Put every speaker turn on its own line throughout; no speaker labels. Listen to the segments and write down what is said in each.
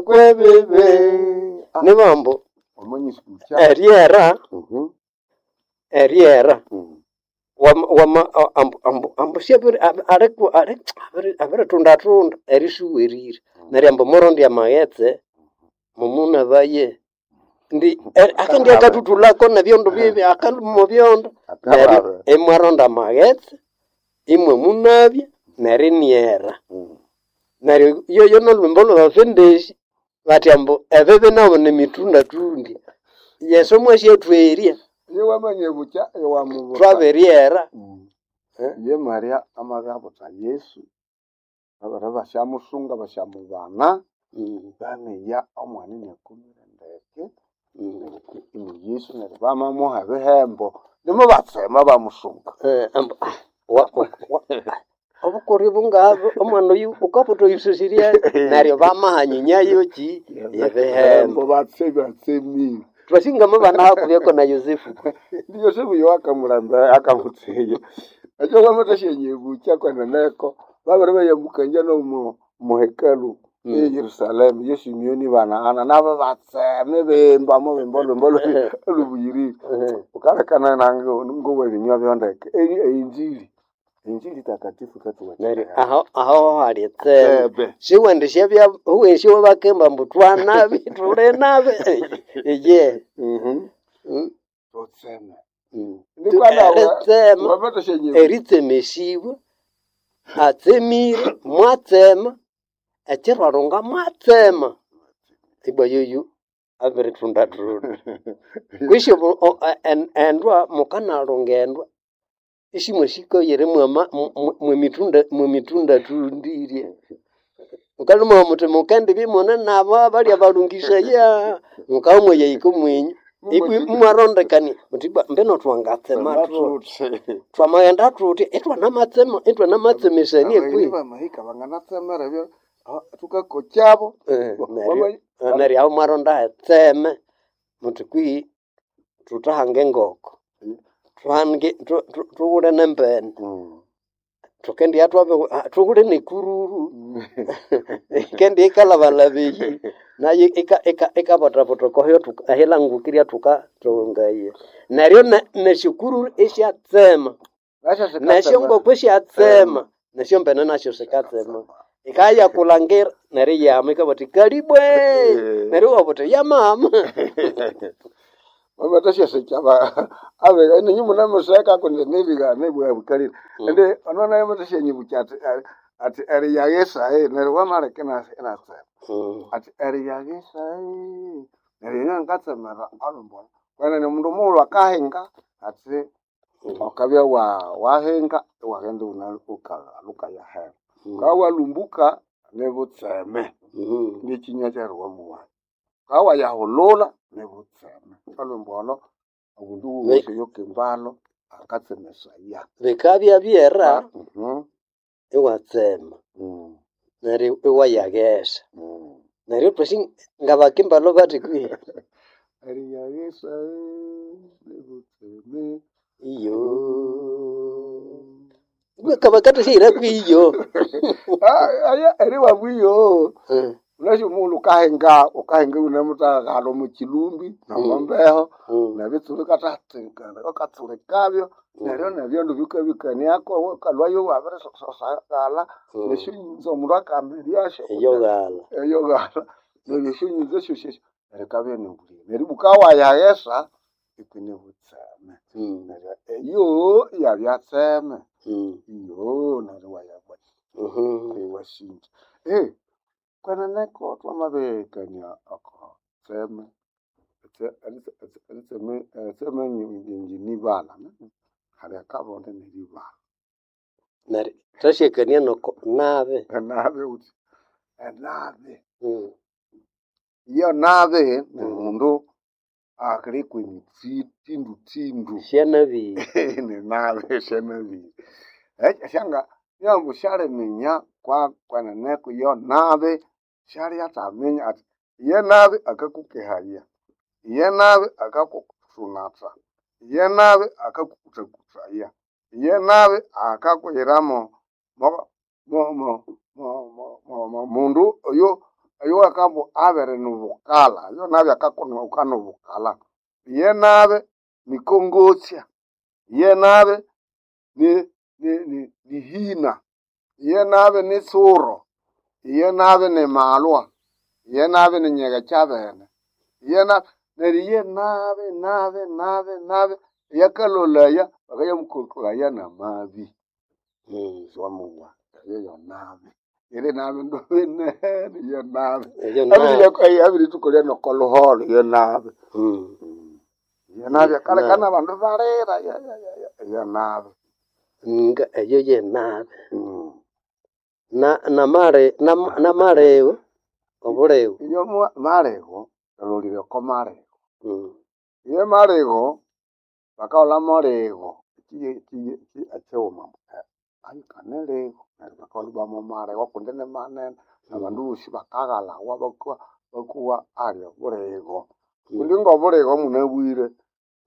Kwebibi
Nibambo
omanyisukucha
eryera eryera wama wama ambu ambu ambu syabiri aliku ali abiritunda-tunda erisuwerire neryo ambu murondya amaghetse mumunabaye ndi akendibya akathuthulako nebyondo bibi akalhwa omo byondo neryo imwaronda amaghetse imwamunabya neryo iniera. Neryo yoyo nolhwimbo lwabafendesya bathi ambu ebibi nabo nimitundatundya. Yesu mwasyathwerya
Ye wamanya bukya ewamubuta
thwabiryera.
Ye Maria amabya Yesu babere basyamusunga basyamubana bamiya omwana iniakumire ndeke ini Yesu neryo bamamuha ebihembo nimubatsema bamusunga.
Ambu obukoryo bungaha omwana oyu wukabutha oyusosirye neryo bamahanyinya yoki ebihembo.
Batse batsemire.
Thwasi ngamabana hakuhi na Yosefu.
Ndi Yosefu yo akamulamba akamutseya. Ekyo wamathasya bukya kweneneko babere bayamukangya nomo muhekalu e Yerusalemu ye Simeoni bana Ana nabo batseme bemba mubemba olhwimbo olhubuyirire. Ukalekana nange ngowa ebinywa byondeke einjili injili takatifu
Neryo
katuwathikaya.
aho aho hali etseme.
Tsebe.
Siwendisya huwesi wabakimba ambu twanabi thuli nabi iye.
Tutseme. Nikwa nawe
Eritsema
wamathasya
eritsemesibwa atsemire mwatsema ekyirwarunga mwatsema ibwa yoyu abiritunda-tunda. Kwisi endwa mukanalunga endwa isimwasikaire mwama mwemitunda mwemitundatundirye. Mukalhuma muthi mukendibya imune nabo balya balungisaya mukabya mwayahika omwinyu ibwa imwarondekania muthi ibwa mbino thwangatsema thuthi thwamaghenda thuthi ithwanamatsema ithwanamatsemesania
Abagheni
kwihi.
bamahika banganatsemera ebyo thukakokyabo
Neryo neryo aho mwaronda etseme muthi kwihi thuthahanga engoko thuhange thughule nembene thukendibya thwabi thughule nekururu yikendibya yikalhabalhaba eyi nayo ikabothabotha okohyo ahilhangukirya thukathungaya. Neryo nesyokururu isyatsema
Nasyo sikatsema
nesyongoko isyatsema nesyombene nasyo sikatsema. Yikabya yakulhangira neryo iyama yikabugha yithi kalibwe neryo iwabugha wuthi yamama.
Wamathasyasikya abiga ininyu munemuseka kundi nibiga nibugha bukalire indi ono nayo amathasyanyibucha athi athi eriyaghisa neryo wamaleka inatsema athi eriyaghisa neryo inye ngatsemera olhwimbo kwenene omundu mughulhu akahinga athi wukabya wahinga iwaghenda iwunalhuka yahera wukabya walhumbuka nibutseme nikyinywa kyeriwamuwaya wukabya wayahulhulha nibutseme olhwimbo olho omundu wosi oyukimbalo akatsemesaya.
Bikabya byera iwatsema neryo iwayaghesa neryo thwasi ngabakimbalo bathi kwihi
Eriyaghisa nibutseme
iyo bakathasyahira kwiyo.
Aya eriwabwa iyo wunasi omughulhu wukahinga wukahinga iwunemutaghalha omo kyilumbi nomombeho nebitsuru wukatsulikabyo neryo nebyondo bikabikaniako wukalhwayo iwabirisosaghalha nesyonyinzo omundu akamiryasyo
Eyoghalha.
eyoghalha neryo esyonyinzo syosi esyo neryo yikabya inibulime neryo ibwa wukabya wayaghesa ikinibutseme neryo eyo iyabya tseme iyo neryo iwasinja. Kweneneko thwamabihikania oko tseme eritsema nibana hali akabonde neribana.
Neryo thwasyakania noko nabi.
Enabi wuthi enabi iyo nabi nimundu akali kwemithindu
Syanabire.
ninabi syanabire syanga ambu syaliminya kweneneko iyo nabi syalyathaminya athi iye nabi akakukehaya iye nabi akakusunatha iye nabi akakukuthakuthaya iye nabi akakuyiramo mundu oyo. Oyo akambu abere nobukala, yo nabi akakono nobukala. Ye nabe nikongosya, ye nabe ni ni ni ni hina, ye nabe ni tsuro, ye nabe ni malwa, ye nabe ni nyege kyabene, ye na neryo ye nabe nabe nabe nabe yakalolaya bakayamukokolaya namabi siwamuwa eyo yo nabi iri nabi ndobinene yo nabi
Eyo nabi.
abiritukolya nokoluholo yo nabi yo nabi akalekana abandu balira yo nabi
Nga eyo ye nabi. Na namale namalewo obulewo.
Iyo maligo lolire oko maligo iyo maligo bakaghulha muligo ekighuma ayikane ligo neryo bakaghulha ibwa maligo kundi ni manene abandu bosi bakaghalawa bakowa ali obuligo kundi ngobuligo munabwire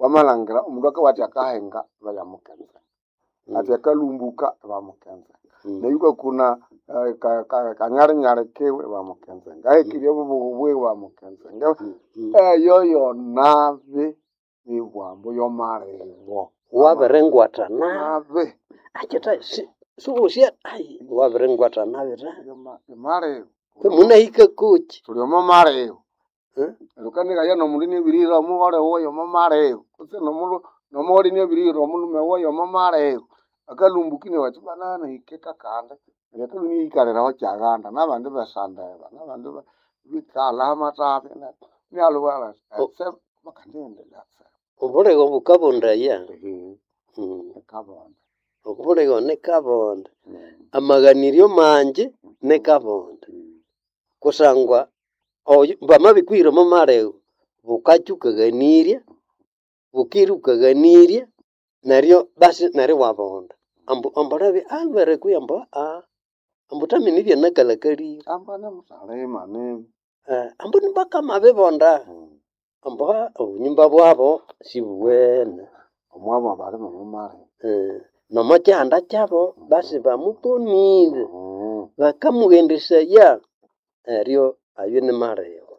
wamalhangira omundu akabugha athi akahinga ibayamukenzenga athi akalhumbuka ibamukenzenga neryo ikwakuna kanyalinyali kiwe ibamukenzenga ahekirye obubughu bwiwe ibamukenzenga eyo yonabi nibwambu yomaligo
Wabiringwatha nabi.
nabi
Akitha siwosya ayi wabiringwatha nabi ta.
maligo
Munahika kuki?
Thuli omo maligo neryo wukanigaya nomundu inabirihira omughole wuwe yomo maligo kutse nomughole inabirihira omulhume wuwe yomo maligo akalhumbuka inabugha athi banana nahike kakandi neryo akalhwa iniyikaliraho kyaghanda nabandi besandeba nabandi bikalha hamathabi inalubwira athi etse bakandighendelya etse
Obuligo bukabondaya.
Nikabonde
Obuligo nikabonde. Amaghaniryo mangi nikabonde. Kusangwa oyo bamabikuhira omo maligo bukakya wukaghanirya, bukira wukaghanirya neryo basi neryo iwabonda. Ambu ambu alwere kwihi ambu ambu thamine ibyanakalhakalire.
Amba nimuthalima nini
Ambu nibakamabibonda. Ambu obunyumba bwabo sibuwene.
Omwabo balima omo maligo.
Nomo kyihanda kyabo basi bamukonire. Bakamughendesaya neryo ayo ni maligo.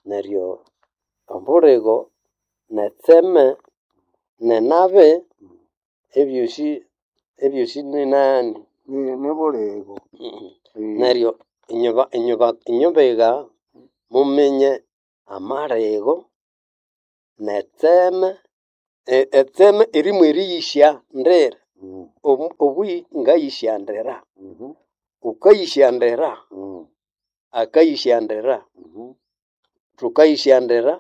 Neryo obuligo netseme nenabi ebyosi ebyosi ninani
Nibuligo.
Neryo inywe muminye amaligo netseme etseme erimu eriyisya ndira obuyi ngayisya ndira wukayisya ndira akayisya ndira thukayisya ndira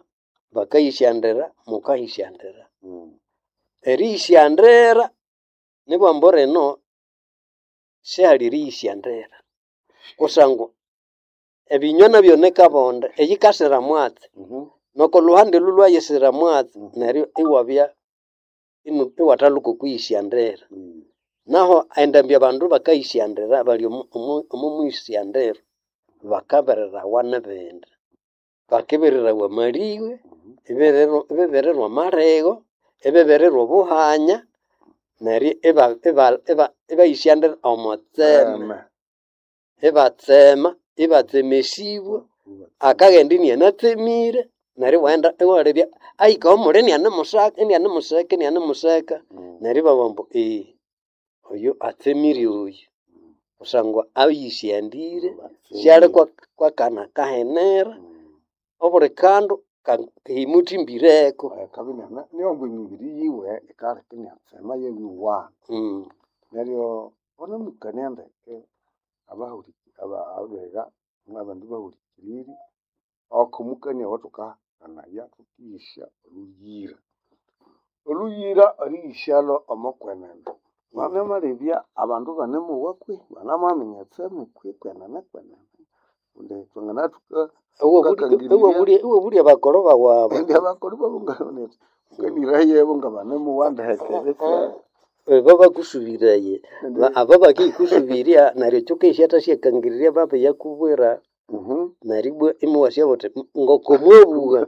bakayisya ndira mukayisya ndira eriyisya ndira nibwambu rino sihali eriyisya ndira kusangwa ebinywa nabyo nikabonde eyikasira mwatsi noko lhuhandi olhu lwayisira mwatsi neryo iwabya iwathalhuka okwiyisya ndira naho endambi abandu bakayisya ndira bali omo mwisya ndira bakabererawa nibindi bakibererawa amaliwe ibibirirwa amaligho ibibirirwa obuhanya neryo ibayisya ndira omo tseme ibatsema ibatsemesibwa akaghenda inianatsemire neryo iwaghenda iwalebya ahika omuli inianimusaka inianimuseka inianimuseka neryo ibabugha ambu oyu atsemire oyu kusangwa ayisyandire syali kwakana kahenera obuli kandu himuthimbireko.
Niyo emibiri yiwe yikaleka inyatsema iyabyowa. Neryo wunemukania ndeke abiga nabandu bahulikirire oko mukania owathukakanaya thukiyisya olhuyira. Olhuyira eriyisyalho omo kwenene mwamyamalebya abandu ibanemowa kwihi banamwaminya etseme kwihi kwenene kwenene kundi thwanganathuka
Iwabulya abakolho bawu abo.
Indi abakolho bawu ngabana wukanirayebo ngabanemowa ndeke
Ebo bakusubiraye abo bakikusubirya neryo kyukisya thasyakangirirya babiyakubwira neryo ibwa imuwasya wuthi ngoko mwabugha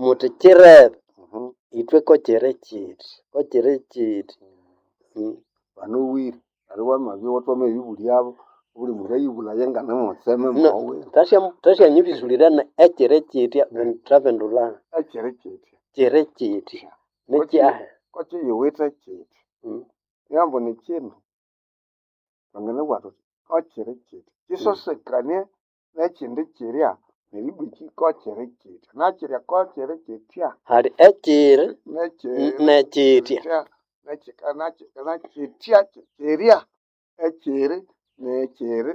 muthi kirebe ithwe kokyiri kyithi kokyiri kyithi.
Banowire neryo wamabya iwamabibulyabo. Obuli mundu ayibulaya ngane mutseme
No,
mowe.
Thasyanyibisulira ekiri kyitya thabindulha
Ekiri kyitya.
kiri kyitya nikyahi?
Kokiyiwithe kyitya. Nihambo nikyindu twanganabugha thuthi kokyiri kyitya. Kyisosekanie nekyindi kyirya neribwa ikyi kokyiri kyitya. Nakyirya kokyiri kyitya.
Hali ekyiri
Nekyiri
nekyitya.
Nakyitya kyirya ekyiri nekyiri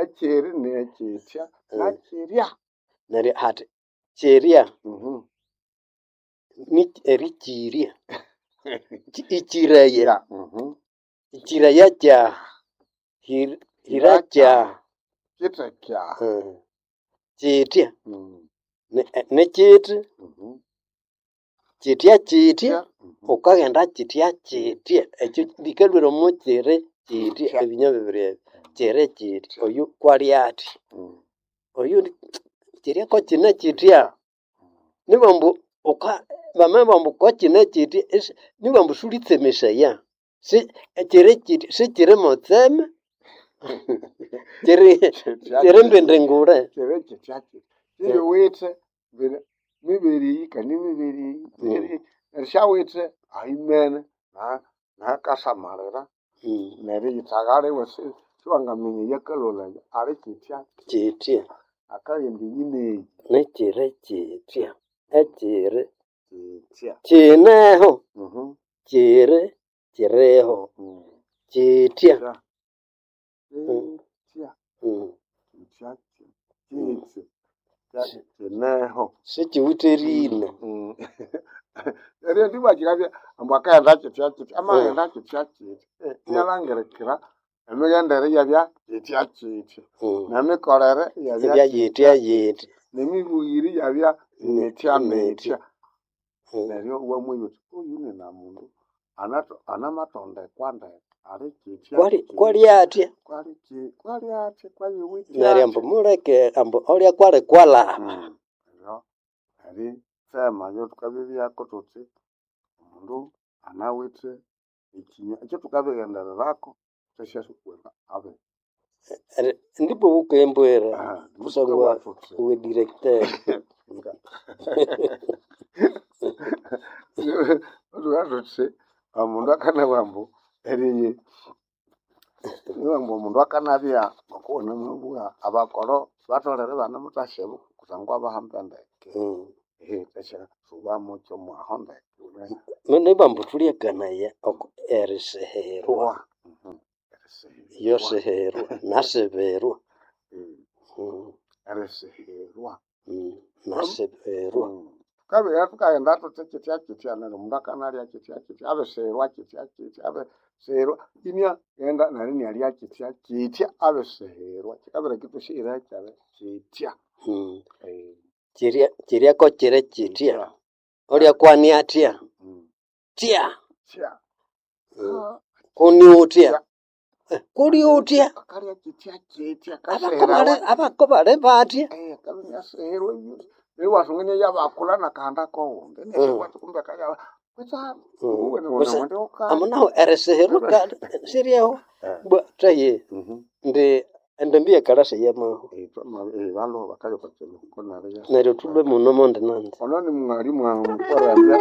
ekyiri nekyitya nakyirya.
Neryo hathi kyirya ni erikyirya. Ikyiraya. Ikyiraya kyaha. Hira kyaha.
Kithe kyaha.
Kyitya nikyiti kyitya kyitya wukaghenda kyitya kyitya ekyo likalhwira omo kyiri kyitya ebinywa bibiri ebyo kyiri kyitya oyu kwali athi oyu kyirya kokyine kyitya nibambu wuka bamabugha ambu kokyine kyitya nibambu sulitsemesaya si kyiri kyitya sikyiri motseme kyiri kyiri mbindi ngule.
Kyiri kyitya kyitya kiyiwithe mibere eyi kandi mibere eyi neryo syawithe ahimene nahakasamalira neriyithagha liwe siwangaminya eyakalholaya ali kyitya
Kyitya.
Akaghenda eyi neyi.
Nikyiri kyitya ekyiri
Kyitya.
kyineho kyiri kyiriho kyitya.
Kyitya. Kyitya kyitya kyineho.
Sikiwithe erina.
Neryo ndibwa kyikabya ambu akaghenda kyitya kyitya amaghenda kyitya kyitya inalhangirikira emighendere iyabya kyitya kyitya nemikolere iyabya
Iyabya yitya yitya.
Nemibuyire iyabya mitya mitya. Neryo iwamwenya wuthi oyu ninamundu anamathondekwa ndeke ali kyitya
Kwali athya.
Kwali athya kwayiwithe
Neryo ambu muleke ambu olya kwali kwalaba.
Neryo eritsema eryathukabibyako thuthi omundu anawithe ekinywa ekyathukabighendererako thwasyasukwira abibi.
Ndipo wukembwira kusangwa we directeur.
Thukabugha thuthi omundu akanabugha ambu eriyi ambu omundu akanabya ngokuwanamabugha abakolho batholere ibanimuthasyabu kusangwa abahamba ndeke. Thwasyasuba mukyo mwaho ndeke.
Nibambu thulyakanaya oko erisiherwa. Yosiherwa nasibirwa.
Erisiherwa.
Nasibirwa.
Thukabya thukaghenda thuthi kyitya kyitya neryo omundu akanalya kyitya kyitya abisihirwa kyitya kyitya abisihirwa iniaghenda neryo inialya kyitya kyitya abisihirwa kyikabireka ithwasyaghira kyabya kyitya.
Kyirya kyirya kokyiri kyitya. Olya kwani athya? Thya.
Thya.
Kuni uthya? Kuli uthya?
Akalya kyitya kyitya
Abako bali bathya.
Akabya iniasihirwa neryo iwasunga iniayabakulha nakahanda kowundi neryo kumbe akabya
Ambu nahu erisihirwa siryeho bwa thaye indi endambi yekalasa yamahwa.
Balhuba bakaya okwa kiruhuko neryo
Neryo thulhwe muno mondi nanzi.
Ono ni mwalimu amukorembya.